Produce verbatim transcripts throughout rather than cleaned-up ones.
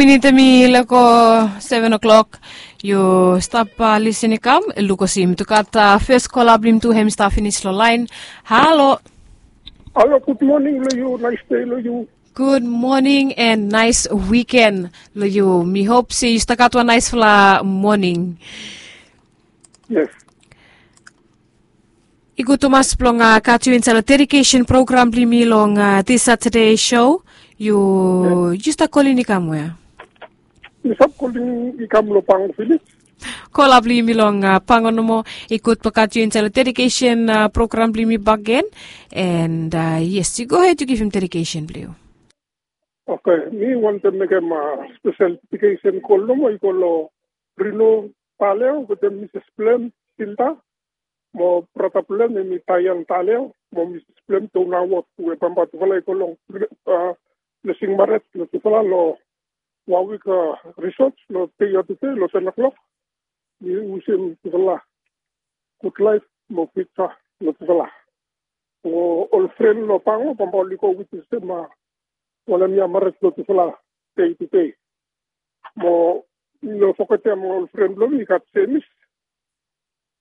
Minit hemi lego seven o'clock. Yu stap lisin i kam lukosi yumi tu gat fes kola blong yumi tu hem i stap finis long lain. Halo. Halo, gud moning long yu, nais dei long yu. Gud moning and nais wiken long yu. Mi hop se yu stap gat wan naisfala moning. Yes. I gud tumas blong gat yu insaed long dedikesen program blong yumi long dis Satade show. Yu yu stap kolin i kam wea? Mi stap kolin i kam long Pango Village. Kola blong yumi long Pango nomo. I gud blong gat yu insaed long dedikesen program blong yumi bakegen. And yes, yu gohed yu givim dedikesen blong yu. Oke, mi wantem mekem spesel dedikesen kol nomo i go long Rino Taleo wetem Mises blong hem Silda, mo brata blong hem hemi Taian Taleo, mo Mises blong hem Dona Wot, we bambae tufala i go long blesing marej long tufala long Wawik Risot long dei ya tude long seven o'clock. Mi wishim tufala gud laef mo fiuja long tufala. Mo ol fren long Pango bambae oli go witnesem wanem ya marej blong tufala dei tude. Mo no fogetem ol fren blong mi i gat Jemis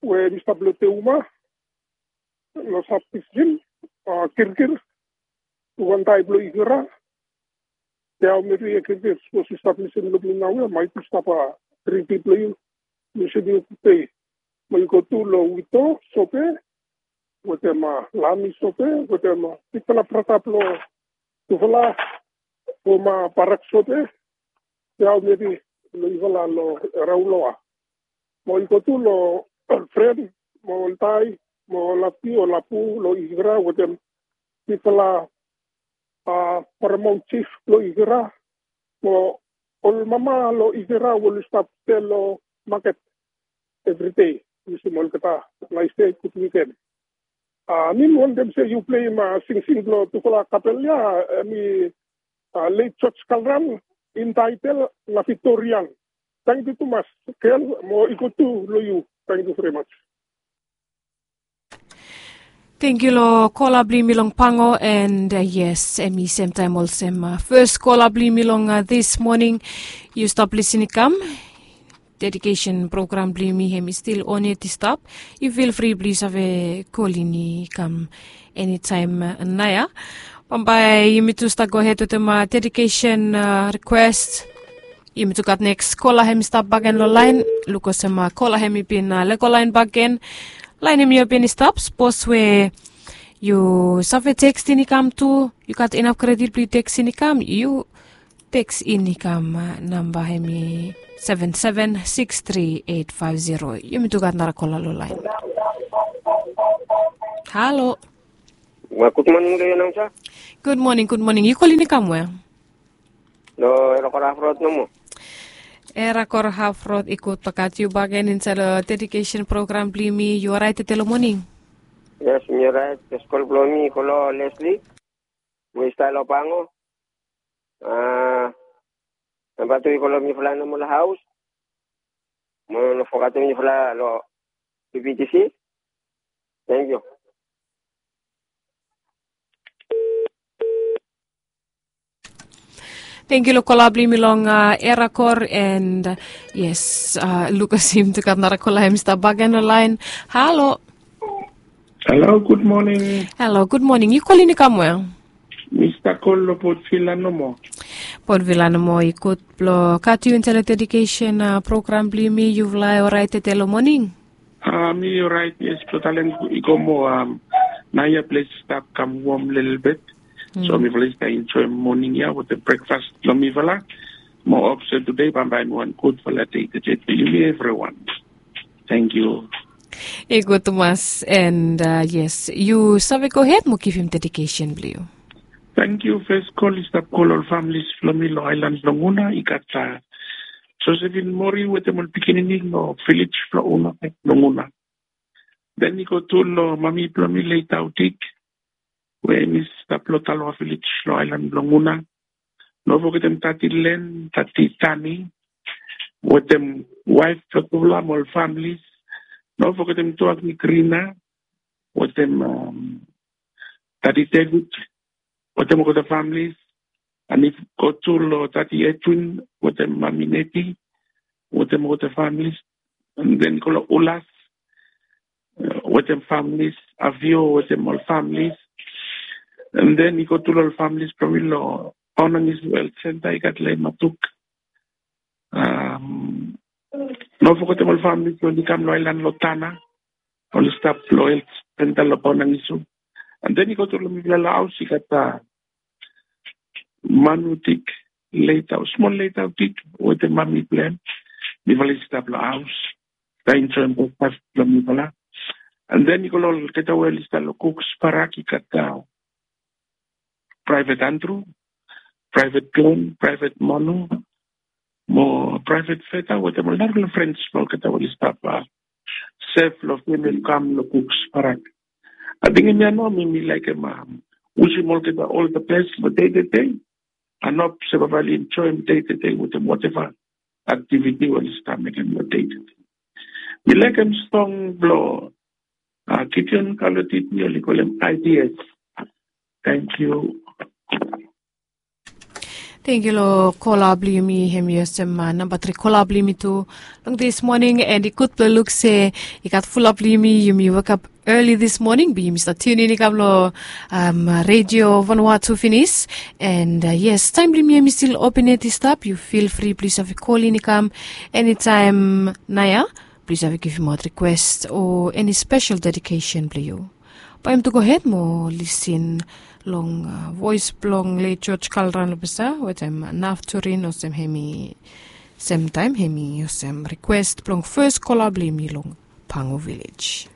we mi stap long Teuma, long Sab Disitrik, Kirkir, Tuvantai blong Ikera. Teao Meri e Kirkir, sapos yu stap lisin long mi naoia, maet yu stap dringi blong yu. Mi wishim yu gud dei. Mo yu go tu long Wito Sope wetem Lami Sope wetem bigfala brata blong tufala, foma Barak Sope, Teao Meri, long yufala long Rauloa. Mo i go tu long ol fren mo ol dai mo ol api ol apu long Ikera wetem bigfala paramount jif blong Ikera, mo ol mama long Ikera we oli stap sel long maket evri dei. Wishim olgeta nais dei, gud wiken. Mi wantem se yu pleim singsing blong tufala kapel ya, hemi Leit George Kalran, intaetel La Victoria. Tangkiu tumas, gel, mo i go tu long yu. Tangkiu very much. Tangkiu long kola blong yumi long Pango, and yes, hemi semtaem olsem fes kola blong yumi long dis moning. Yu stap lisin i kam. Dedikesen program blong yumi hemi stil on yet i stap. Yu fil fri blong yu save kolin i kam enitaem naoia. Bambae yumi tu stap gohed wetem dedikesen rikwes. Yumi tu gat neks kola hemi stap bakegen long laen. Luk olsem kola hemi bin lego laen bakegen. Laen hemi o bin i stap, sapos we yu save tekstin i kam tu, yu gat inap kredit blong yu tekstin i kam, yu tekstin i kam. Namba hemi seven seven six three eight five zero. Yumi tu gat nara kola long laen. Halo. Gud moning long yu nao sa. Gud moning, gud moning. Yu kolin i kam wea? Long Erakor Haf Rod nomo. Erakor Haf Rod, i gud blong gat yu bakegen insaed long dedikesen program blong yumi. Yu oraet tede long moning? Yes, mi oraet. Fes kol blong mi i go long Lesli we i stap long Pango. Namba tu i go long mifala nomo long haos. Mo no fogetem mifala long B B T C. Tangkiu. Tangkiu long kola blong yumi long Erakor, and yes, luk olsem tu gat nara kola hemi stap bakegen long laen. Halo. Halo, gud moning. Halo, gud moning. Yu kolin i kam wea? Mi stap kol long Port Vila nomo. Port Vila nomo, i gud blong gat yu insaed long dedikesen program blong yumi. Yufala oraet tede long moning? Mi oraet, yes, blong talem i go moa. Naoia ples i stap kam wom lelebet. So mifala i stap enjoem moning ya wetem brekfas blong mifala. Mo hop se tude bambae hemi wan gudfala dei tede blong yumi evriwan. Tangkiu. I gud tumas, and yes, yu save gohed mo givim dedikesen blong yu. Tangkiu. Fes kol i stap go long ol familis blong mi long aelan blong Una. I gat Josephine Mori wetem ol pikinini long vilej blong Una, blong Una. Den i go tu long mami blong mi Leit Audik, we hemi stap long Talwa vilej long aelan blong Una. No fogetem Tati Len, Tati Tani wetem waef blong tufala mo ol familis. No fogetem Tuak Nikrina wetem Tati David wetem olgeta familis. And if go to lo Tati Edwin, wetem Mami Neti, wetem all the families, and then go lo Ulas, uh, wetem families, Avio, wetem all families, and then i go to lo families from lo Onangisu Health Center, i gat le Matuk. Um, no forget all families when i kam lo Island lo Tana, oli stap lo Health Center lo Onangisu. And then i go to lo mifala lo haus, i gat uh, Manutik Leitau, smol Leitau Tik, wetem Mami Plan. Mifala i stap lo haus. Taim join breakfast lo mifala. And then i go lo olgeta we oli stap lo Cooks Parak, i gat uh, Private Andrew, Private Glenn, Private Manu, mo Private Feta, wetem ol narafala friends mo olgeta oli stap uh, sef lo femili kam lo Cooks Parak. Ating hemia nao mi mi laekem uh, wisim olgeta all the best lo day to day. And hop se baba oli enjoy day to day wetem whatever activity oli stap mekem lo day to day. Mi laekem song blo uh, Gideon Kalotiti, oli kolem ideas. Thank you. Tengkiu lo kola blong yumi, hemi olsem namba tri kola blong yumi tu long this morning. And i gud blong luk se i gat fulap blong yumi, yumi wekap early this morning, be yumi stap tune in i kam lo um, Radio Vanuatu finis. And uh, yes, taim blong yumi hemi stil open yet i stap. Yu feel free, plis save kolin i kam anytime naoia. Plis save givimaot request o any special dedication blong yu. Bae yumi tu gohed mo lisin long uh, voes blong le George Kalran Lopesa wetem Naf Turin olsem hemi, semtaim hemi olsem request blong fes kola blong yumi long Pangu Village.